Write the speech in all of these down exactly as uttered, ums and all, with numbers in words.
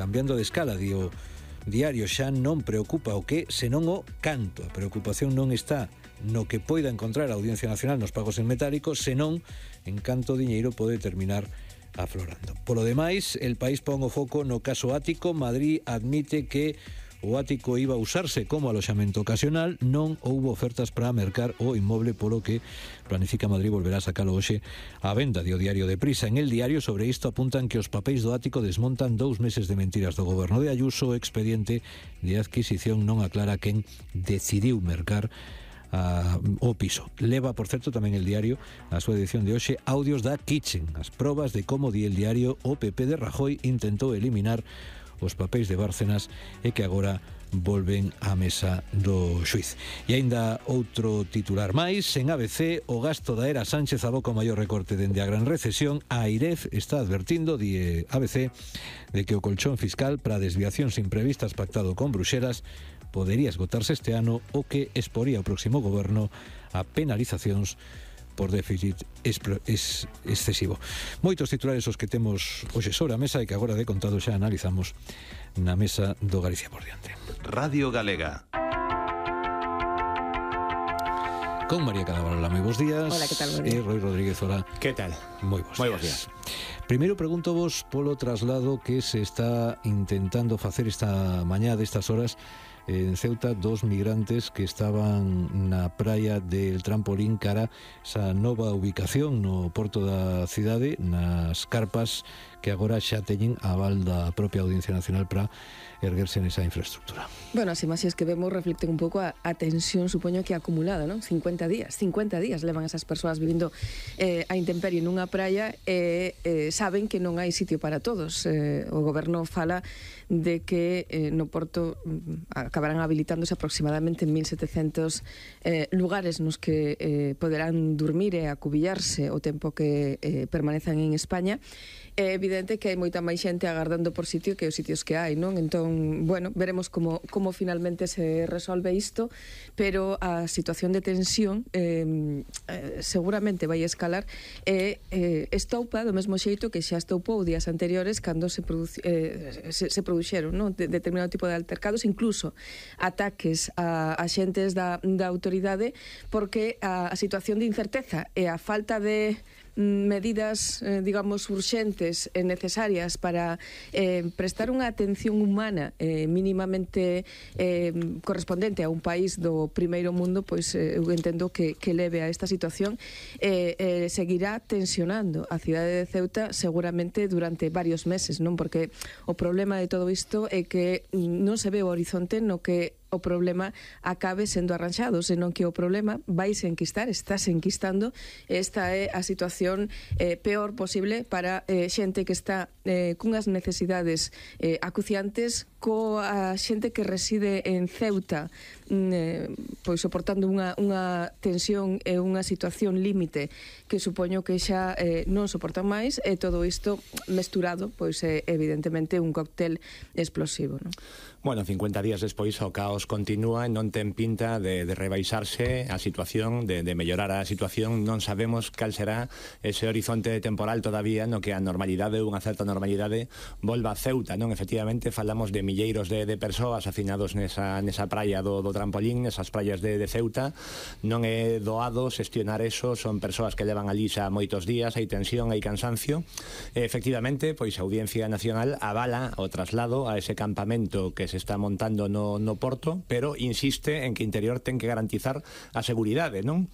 cambiando de escala, di o diario, xa non preocupa o que, senón o canto. A preocupación non está no que poida encontrar a Audiencia Nacional nos pagos en metálico, senón en canto diñeiro pode terminar aflorando. Polo demais, El País pon o foco no caso Ático. Madrid admite que o ático iba a usarse como aloxamento ocasional, non houbo ofertas para mercar o inmoble, polo que planifica Madrid volverá a sacalo hoxe á venda, dio Diario de Prisa. En El Diario sobre isto apuntan que os papéis do ático desmontan dous meses de mentiras do goberno de Ayuso. O expediente de adquisición non aclara quen decidiu mercar a, o piso. Leva, por certo, tamén El Diario a súa edición de hoxe audios da Kitchen, as probas de como, di El Diario, o P P de Rajoy intentou eliminar os papéis de Bárcenas e que agora volven á mesa do xuiz. E aínda outro titular máis, en A B C, o gasto da era Sánchez aboca o maior recorte dende a gran recesión. A AIREF está advertindo, di A B C, de que o colchón fiscal para desviacións imprevistas pactado con Bruxelas podería esgotarse este ano, o que exporía o próximo goberno a penalizacións por déficit es excesivo. Moitos titulares os que temos hoxe sobre a mesa e que agora de contado xa analizamos na mesa do Galicia por diante. Radio Galega. Con María Cadaval, moi bons días. Hola, que tal? E Roi Rodríguez, hola. Que tal? Moi bons Moi días. bons días. Primeiro pregunto vos polo traslado que se está intentando facer esta mañá destas horas en Ceuta, dos migrantes que estaban na praia del Trampolín cara esa nova ubicación no porto da cidade, nas carpas que agora xa teñen aval da propia Audiencia Nacional para erguerse nesa infraestructura. Bueno, as imaxes que vemos reflicten un pouco a, a tensión, supoño que acumulada, non? cincuenta días, cincuenta días levan esas persoas vivindo eh, a intemperie nunha praia e eh, saben que non hai sitio para todos. Eh, o goberno fala de que eh, no porto mm, acabarán habilitándose aproximadamente mil setecentos eh, lugares nos que eh, poderán dormir e acubillarse o tempo que eh, permanezan en España. É evidente que hai moita máis xente agardando por sitio que os sitios que hai, non? Entón, bueno, veremos como, como finalmente se resolve isto, pero a situación de tensión eh, eh, seguramente vai escalar e eh, estoupa do mesmo xeito que xa estoupou días anteriores cando se, produ eh, se, se produxeron, non? De, determinado tipo de altercados, incluso ataques a axentes da, da autoridade, porque a, a situación de incerteza e a falta de medidas, eh, digamos, urxentes e necesarias para eh, prestar unha atención humana eh, mínimamente eh, correspondente a un país do primeiro mundo, pois eh, eu entendo que, que leve a esta situación e eh, eh, seguirá tensionando a cidade de Ceuta seguramente durante varios meses, non? Porque o problema de todo isto é que non se ve o horizonte no que o problema acabe sendo arranxado, senón que o problema vai se enquistar, está se enquistando. Esta é a situación eh, peor posible para eh, xente que está eh, cunhas necesidades eh, acuciantes, coa xente que reside en Ceuta eh, pois soportando unha, unha tensión e unha situación límite que supoño que xa eh, non soportan máis, e todo isto mesturado, pois é evidentemente un cóctel explosivo, non? Bueno, cincuenta días despois o caos continúa e non ten pinta de, de rebaixarse a situación, de, de mellorar a situación. Non sabemos cal será ese horizonte temporal todavía no que a normalidade, unha certa normalidade, volva a Ceuta, non? Efectivamente, falamos de milleiros de, de persoas hacinados nesa, nesa praia do, do Trampolín, nesas praias de, de Ceuta. Non é doado xestionar eso, son persoas que levan ali xa moitos días, hai tensión, hai cansancio. E, efectivamente, pois a Audiencia Nacional avala o traslado a ese campamento que se está montando no, no porto, pero insiste en que Interior ten que garantizar a seguridade, non?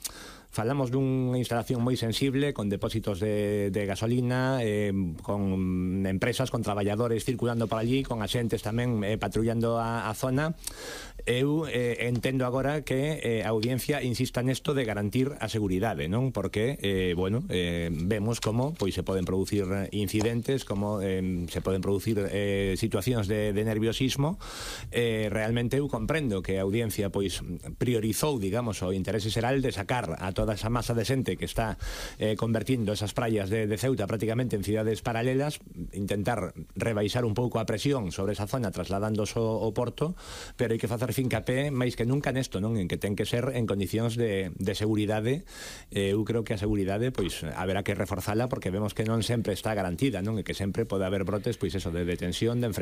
Falamos dunha instalación moi sensible, con depósitos de, de gasolina, eh, con empresas, con traballadores circulando por allí, con axentes tamén eh, patrullando a, a zona. Eu eh, entendo agora que eh, a Audiencia insista nesto de garantir a seguridade, non? Porque, eh, bueno, eh, vemos como pois se poden producir incidentes, como eh, se poden producir eh, situacións de, de nerviosismo. Eh, realmente eu comprendo que a Audiencia pois priorizou, digamos, o interese xeral de sacar a toda esa masa de xente que está eh, convertindo esas praias de, de Ceuta prácticamente en cidades paralelas, intentar rebaixar un pouco a presión sobre esa zona trasladándose ao porto, pero hai que facer fincapé máis que nunca nesto, non? En que ten que ser en condicións de, de seguridade. Eh, eu creo que a seguridade pois haberá que reforzala, porque vemos que non sempre está garantida, non? E que sempre pode haber brotes, pois eso, de detención, de enfrentamento